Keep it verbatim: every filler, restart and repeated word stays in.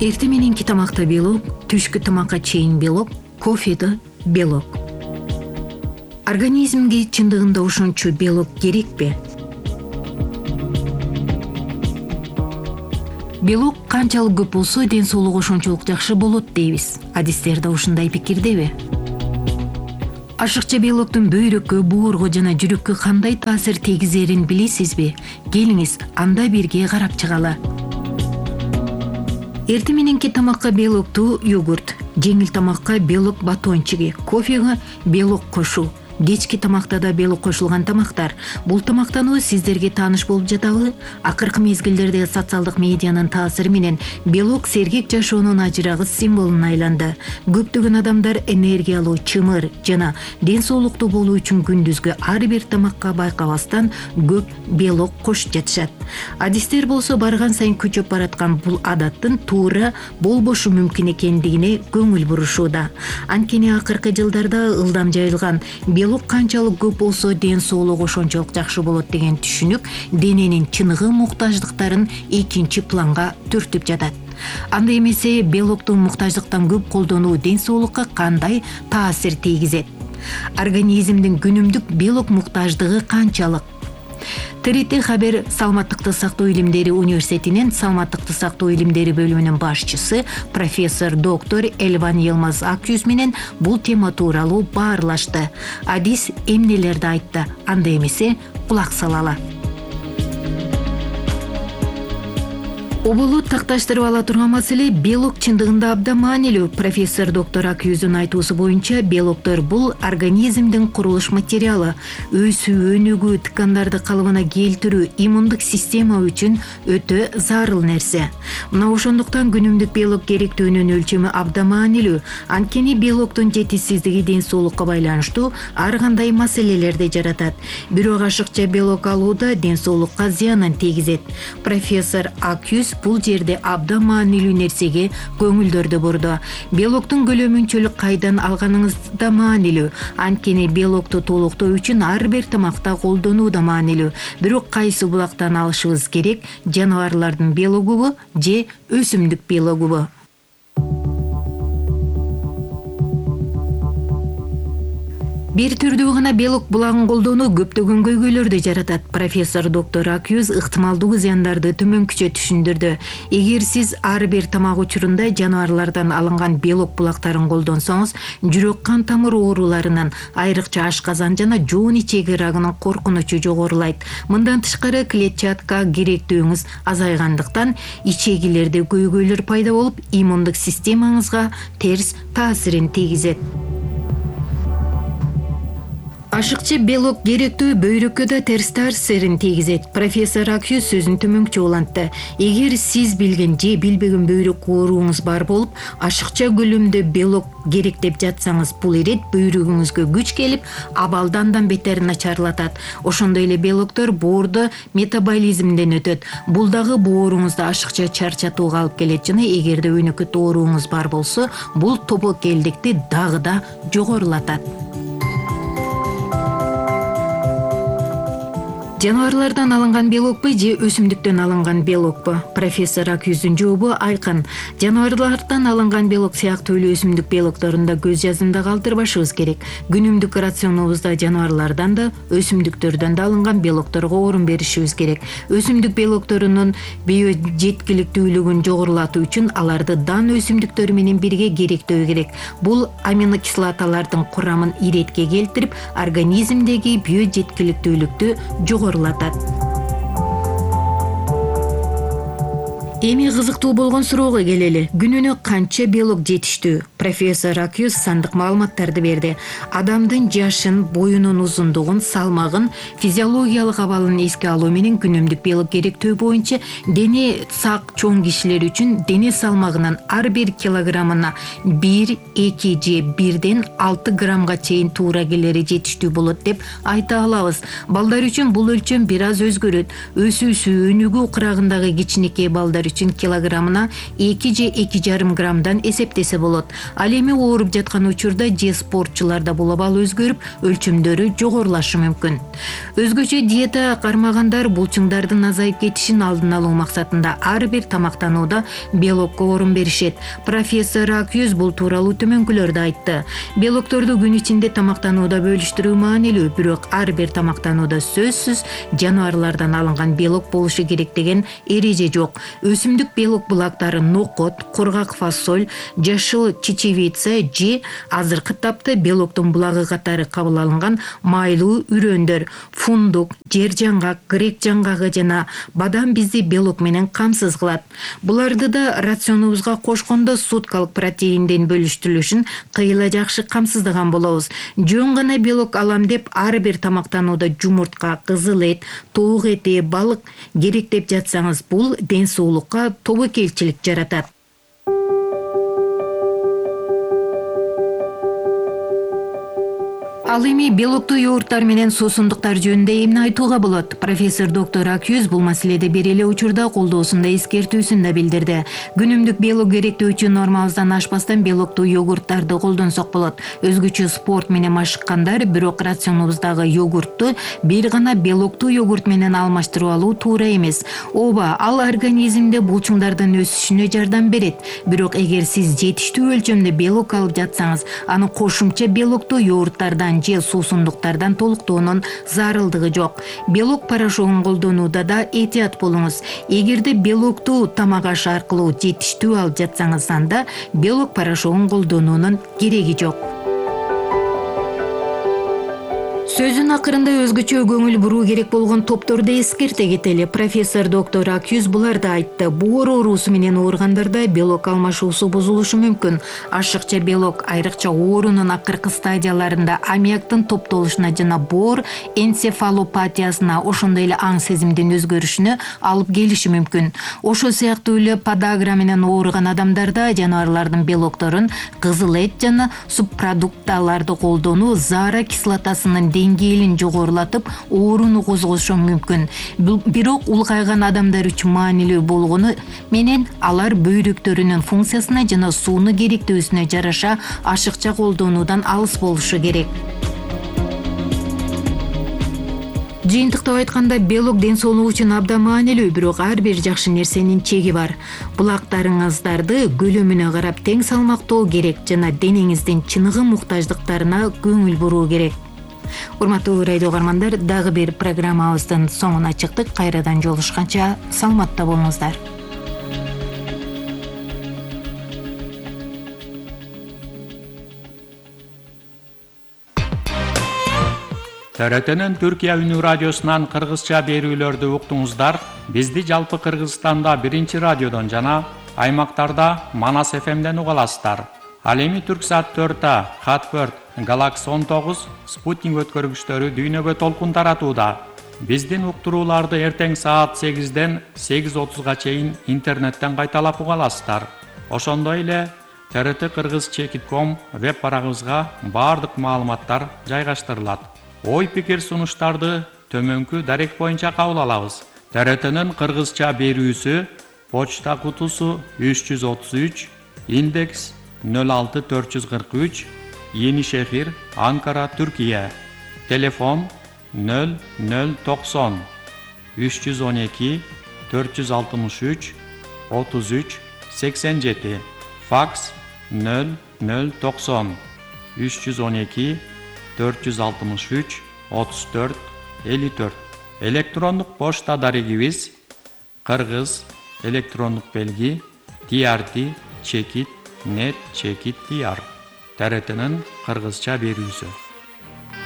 Эртең мененки тамакта белок, түшкү тамакка чейин белок, кофеде белок. Организмге чындыгында ошончо белок керекпи? Белок канчалык көп болсо, ден соолук ошончолук жакшы болот дейбиз. Адистер да ушундай пикирдеби? Ашыкча белоктун бөйрөккө, боорго жана жүрөккө кандай таасир тийгизерин билесизби? Келиңиз, анда бирге карап чыгалы. Эртең мененки тамакка белоктуу йогурт, жеңил тамакка белок батончиги, кофеге белок кошуу, кечки тамакта да белок кошулган тамактар. Бул тамактануу сиздерге тааныш болуп жатабы? Акыркы мезгилдерде социалдык медианын таасири менен белок сергек жашоонун ажырагыс символуна айланды. Көптөгөн адамдар энергиялуу, чымыр жана ден соолуктуу болуу үчүн күндүзгү ар бир тамакка байкабастан көп белок кошуп жатышат. Адистер болсо барган сайын күчөп бараткан бул адаттын туура болбошу мүмкүн экендигине көңүл бурушууда. Анткени акыркы жылдарда ылдам жайылган белок канчалык көп болсо, ден соолук ошончолук жакшы болот деген түшүнүк дененин чыныгы муктаждыктарын экинчи планга түртүп жатат. Анда эмесе белоктун муктаждыктан көп колдонуу ден соолукка кандай таасир тийгизет? Организмдин күнүмдүк белок муктаждыгы канчалык? ТРТ Хабер Саламаттыкты сактоо илимдери университетинин Саламаттыкты сактоо илимдери бөлүмүнүн башчысы профессор доктор Элван Йылмаз Акюз менен бул тема тууралуу баарлашты. Адис эмнелерди айтты? Анда эмесе кулак салалы. Оболу такташтырып ала турган маселе белок чындыгында абдан маанилүү. Профессор доктор Акюздун айтуусу боюнча, белоктор бул организмдин курулуш материалы. Өсүү, өнүгүү, ткандарды калыбына келтирүү иммундук система үчүн өтө зарыл нерсе. Мына ошондуктан күнүмдүк белок керектүүнүн өлчөмү абдан маанилүү. Анткени белоктун жетишсиздиги ден соолукка байланыштуу ар кандай маселелерди жаратат. Бирок ашыкча белок алууда ден соолукка зыянын тийгизет. Профессор Акюз бул жерде абдан маанилүү нерсеге көңүлдөрдү бурду. Белоктун көлөмүнчөлүк кайдан алганыңыз да маанилүү. Анткени белокту толуктоо үчүн ар бир тамакта колдонуу да маанилүү. Бирок кайсы булактан алышыбыз керек? Жаныбарлардын белогубу же өсүмдүк белогубу? Бир түрдүү гана белок булагын колдонуу көптөгөн көйгөйлөрдү жаратат. Профессор доктор Акюз ыктымалдуу зыяндарды төмөнкүчө түшүндүрдү. Эгер сиз ар бир тамак учурунда жаныбарлардан алынган белок булактарын колдонсоңуз, жүрөк кан тамыр ооруларынан, айрыкча ашказан жана жоон ичеги рагынын коркунучу жогорулайт. Мындан тышкары клетчатка керектүүңүз азайгандыктан ичегилерде көйгөйлөр пайда болуп, иммундук системаңызга терс таасирин тийгизет. Ашыкча белок керектүү бөйрөккө да терс таасирин тийгизет. Профессор Акюз сөзүн төмөнкүчө улантты. Эгер сиз билген же билбеген бөйрөк ооруңуз бар болуп, ашыкча көлөмдө белок керек деп жатсаңыз, бул ирет бөйрөгүңүзгө күч келип, абалды андан бетер начарлатат. Ошондой эле белоктор боордо метаболизмден өтөт. Бул дагы бооруңузда ашыкча чарчатууга алып келет жана эгерде өнөкөт ооруңуз бар болсо, бул тобокелдикти дагы да жогорулатат. Жаныбарлардан алынган белокпу же өсүмдүктөн алынган белокпу? Профессор Акюздун жообу айкын. Жаныбарлардан алынган белок сыяктуу эле өсүмдүк белокторунда көз жазымда калтырбашыбыз керек. Күнүмдүк рационубузда жаныбарлардан да, өсүмдүктөрдөн да алынган белокторго орун беришибиз керек. Өсүмдүк белокторунун биожеткиликтүүлүгүн жогорулатуу үчүн аларды дан өсүмдүктөр менен бирге керектөө керек. Бул аминокислоталардын курамын иретке келтирип, организмдеги биожеткиликтүүлүктү жогорулатат. Эми кызыктуу болгон суроого келели. Күнүнө канча белок жетиштүү? Профессор Акюз сандык маалыматтарды берди. Адамдын жашын, боюнун узундугун, салмагын, физиологиялык абалын эске алуу менен күнүмдүк белок керектөө боюнча дене сак чоң кишилер үчүн дене салмагынын ар бир килограммына бир, эки же бирден алты граммга чейин туура келери жетиштүү болот деп айта алабыз. Балдар үчүн бул өлчөм бир аз өзгөрөт. Өсүүсү, өнүгүү кырагындагы кичинекей балдар үчүн килограммына эки же эки жарым граммдан эсептесе болот. Ал эми ооруп жаткан учурда же спортчуларда бул абал өзгөрүп, өлчөмдөрү жогорулашы мүмкүн. Өзгөчө диета кармагандар булчуңдардын азайып кетишин алдын алуу максатында ар бир тамактанууда белокко орун беришет. Профессор Акюз бул тууралуу төмөнкүлөрдү айтты. Белокторду күн ичинде тамактанууда бөлүштүрүү маанилүү, бирок ар бир тамактанууда сөзсүз жаныбарлардан алынган белок болушу керек деген эреже жок. Өсүмдүк белок булактары нокот, кургак фасоль, жашыл чечевица же азыркы тапта белоктун булагы катары кабыл алынган майлуу үрөөндөр, фундук, жер жаңгак, грек жаңгагы жана бадам бизди белок менен камсыз кылат. Буларды да рационубузга кошкондо суткалык протеиндин бөлүштүрүлүшүн кыйла жакшы камсыздаган болобуз. Жөн гана белок алам деп ар бир тамактанууда жумуртка, кызыл эт, тоок эти, балык керек деп жатсаңыз, бул ден соолукка тобокелчилик жаратат. Ал эми белоктуу йогурттар менен суусундуктар жөнүндө эмне айтууга болот? Профессор доктор Акюз бул маселеде бир эле учурда колдоосунда эскертүүсүн да билдирди. Күнүмдүк белок керектөөчү нормабыздан ашпастан белоктуу йогурттарды колдонсок болот. Өзгөчө спорт менен машыккандар бирок рационубуздагы йогуртту бир гана белоктуу йогурт менен алмаштырып алуу туура эмес. Ооба, ал организмде булчуңдардын өсүшүнө жардам берет. Бирок эгер сиз жетиштүү өлчөмдө белок алып жатсаңыз, аны кошумча белоктуу йогурттардан же суусундуктардан толуктоонун зарылдыгы жок. Белок порошогун колдонууда да этият болуңуз. Эгерде белоктуу тамак аш аркылуу жетиштүү алып жатсаңыз, анда белок порошогун колдонуунун кереги жок. Сөзүн акырында өзгөчө көңүл буруу керек болгон топторду эскерте кетели. Профессор доктор Акюз буларды айтты. Боор оорусу менен ооругандарда белок алмашуусу бузулушу мүмкүн. Ашыкча белок айрыкча оорунун акыркы стадияларында аммиактын топтолушуна жана боор энцефалопатиясына, ошондой эле аң сезимдин өзгөрүшүнө алып келиши мүмкүн. Ошол сыяктуу эле подагра менен ооруган адамдарда жаныбарлардын белокторун, кызыл эт жана субпродукталарды колдонуу заара кислотасынын деңгээлин жогорулатып, ооруну козгошу мүмкүн. Бирок улгайган адамдар үчүн маанилүү болгону менен алар бөйрөктөрүнүн функциясына жана сууну керектөөсүнө жараша ашыкча колдонуудан алыс болушу керек. Жыйынтыктап айтканда, белок ден соолук үчүн абдан маанилүү, бирок ар бир жакшы нерсенин чеги бар. Булактарыңыздарды көлөмүнө карап тең салмактоо керек жана денеңиздин чыныгы муктаждыктарына көңүл буруу керек. Урматтуу радио угармандар, дагы бир программабыздын соңуна чыктык. Кайрадан жолугушканча саламатта болуңуздар. Т Р Т'нин Түркия үнү радиосунан кыргызча берүүлөрдү уктуңуздар. Бизди жалпы Кыргызстанда биринчи радиодон жана аймактарда Манас эф эмден уга аласыздар. Ал эми Түрксат төрт А, Хатберт, Галакс он тогуз, Спутник өткөргүчтөрү дүйнөгө толкун таратууда. Биздин уктурууларды эртең саат сегизден сегиз отузга чейин интернеттен кайталап уга аласыздар. Ошондой эле Т Р Т кыргыз чекит ком веб барагыбызга баардык маалыматтар жайгаштырылат. Ой пикир сунуштарды төмөнкү дарек боюнча кабыл алабыз. Т Р Т'нин кыргызча берүүсү почта кутусу үч жүз отуз үч, индекс нөл алты төрт жүз кырк үч, Енишехир, Анкара, Түркия. Телефон нөл нөл токсон үч жүз он эки төрт жүз алтымыш үч отуз үч сексен жети. Факс нөл нөл токсон үч жүз он эки төрт жүз алтымыш үч отуз төрт элүү төрт. Электрондук почта дарегибиз кыргыз электрондук белги ти ар ти чекит нет чекит ти ар. Т Р Т'нин кыргызча берүүсү.